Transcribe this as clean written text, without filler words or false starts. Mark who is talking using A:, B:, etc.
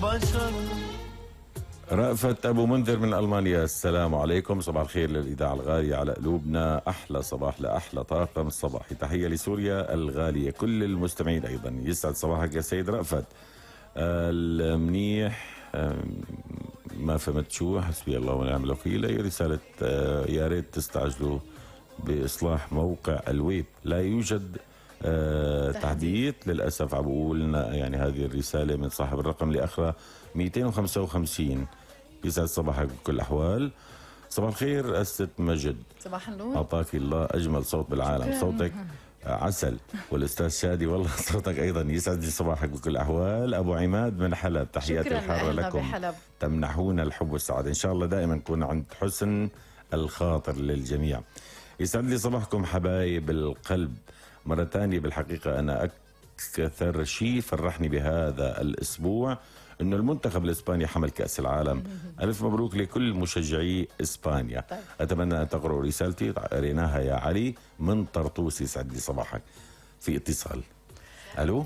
A: بشر.
B: رأفت أبو منذر من ألمانيا، السلام عليكم، صباح الخير للإذاعة الغالية على قلوبنا، أحلى صباح لأحلى طاقم الصباحي، تحية لسوريا الغالية، كل المستمعين أيضا، يسعد صباحك يا سيد رأفت. المنيح ما فهمت شو، حسبي الله ونعم الوكيل. هي رسالة يا ريت تستعجلوا بإصلاح موقع الويب، لا يوجد تحديث للأسف. عم بقولنا يعني هذه الرسالة من صاحب الرقم اللي آخره 255. يسعد صباحك بكل الأحوال. صباح الخير الست مجد،
C: صباح النور،
B: أعطاك الله أجمل صوت بالعالم.
C: شكرا.
B: صوتك عسل. والأستاذ شادي والله صوتك أيضا يسعد صباحك بكل الأحوال. أبو عماد من حلب، تحياتي الحارة لكم،
C: بحلب.
B: تمنحونا الحب والسعادة، إن شاء الله دائما نكون عند حسن الخاطر للجميع. يسعد لي صباحكم حبايب القلب مرة تانية. بالحقيقة أنا أكثر شيء فرحني بهذا الأسبوع إنه المنتخب الإسباني حمل كأس العالم. ألف مبروك لكل مشجعي إسبانيا.
C: طيب.
B: أتمنى أن تقرأوا رسالتي، قريناها يا علي من طرطوس. يسعد لي صباحك. في اتصال. ألو.